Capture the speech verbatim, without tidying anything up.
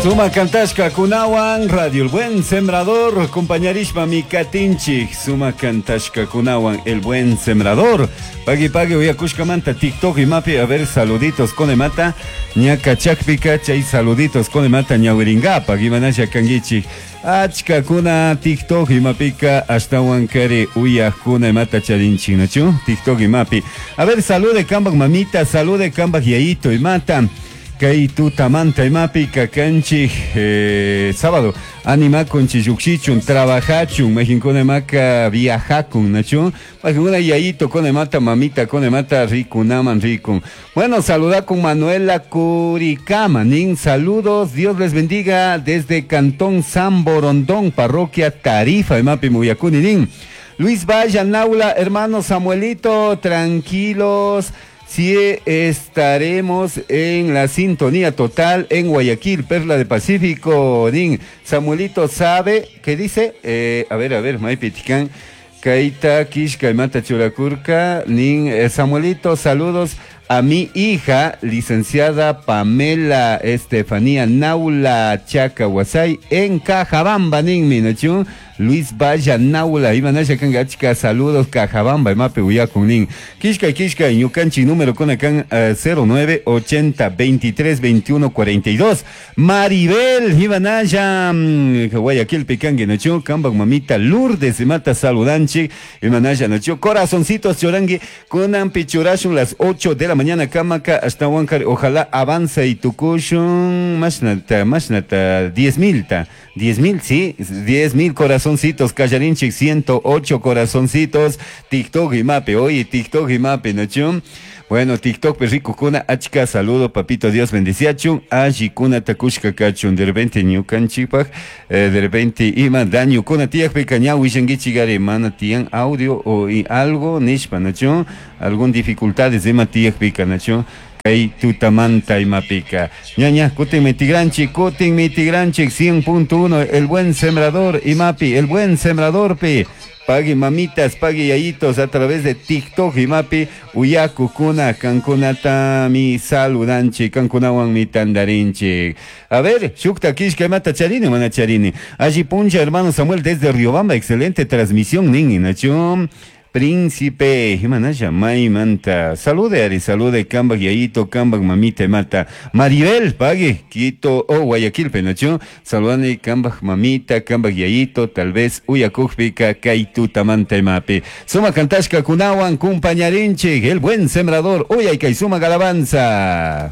Suma kantashkakunawan Radio El Buen Sembrador compañarishpa mi katinchik suma kantashkakunawan El Buen Sembrador. Pagui pagui uyakushkamanta TikTok imapi, a ver, saluditos con emata ñaka chakpika chay saluditos con emata ñawiringapa imanasha kangichik achkakuna TikTok imapika ashtawan kari uyakuna imata charinchik, nachu TikTok imapi. A ver, salude kambak mamita, salude kambak yayito imata kay tutamanta imapi kakanchik eh, sábado animakun llukshichun trabajachun majinkuna imaka viajakun, nachu majinkuna yayito con imata mamita con imata rikunaman rikun. Bueno, saluda con Manuela Curicama nin saludos, Dios les bendiga desde Cantón San Borondón, parroquia Tarifa imapi muyakuni nin. Luis Vaya Naula, hermano Samuelito, tranquilos. Sí, estaremos en la sintonía total en Guayaquil, Perla de Pacífico. Nin, Samuelito sabe, ¿qué dice? Eh, a ver, a ver, Maipitican, Kaita, Kishka, Mata Churacurca. Nin, eh, Samuelito, saludos a mi hija, licenciada Pamela Estefanía Naula Chaca Huasay, en Cajabamba, nin, minachu. Luis Vaya Naula, Imanasha Kangachka, saludos, Cajabamba, Mape Uyakun, nin. Kishka, Kishka, Ñukanchi, número con acá, eh, cero nueve ochenta veintitrés veintiuno cuarenta y dos. Maribel, Imanasha, mm, Guayaquil, Picangue, Nachu, Kambak, Mamita, Lourdes, Mata, Saludanchi, Imanasha, Nachu, Corazoncitos, Chorangui, Kunan, Pichurashun, las ocho de la mañana, Kamaka, hasta Huancar, ojalá avanza y tukushun, mashnata, mashnata, diez mil, ta, diez mil, sí, diez mil corazoncitos, Callarinchik, ciento ocho corazoncitos, TikTok y Mape, oye, TikTok y Mape, ¿no, Bueno, TikTok, perrico, kuna, achka, saludo, papito, Dios bendiciachun, aji, kuna, takushka, kachun, de repente, ñukanchipaj, eh, de repente, ima, daño, kuna, tiak, pecaña, wishangichi, gare, mana, tian, audio, o y algo, nishpa, ¿no, algún dificultades, ima, tiak, pica, ¿no? Kay tutamanta imapika. Ñaña, kutin mitigranchi, kutin mitigranchi, cien punto uno, el buen sembrador, imapi, el buen sembrador, pi. Pague mamitas, pague yayitos a través de TikTok, imapi, uyaku kuna, kankunata mi saludanchi, kankunawan mi tandarinchi. A ver, shukta kishka imata charini, mana charini. Allí puncha, hermano Samuel, desde Riobamba, excelente transmisión, nin, nachum. Príncipe, Jimanaya, Maimanta. Salude, Ari, salude, Kambak, Yayito, Kambak, Mamita, Mata. Maribel, pague, Quito, oh, Guayaquil, Penacho. Saludane, Kambak, Mamita, Kambak, Yayito, tal vez, Uyakujpica, Kaituta, Manta, Mapi. Suma Kantashka, Kunawan, Cumpañarinche, el buen sembrador, Uyayka, Suma Galabanza.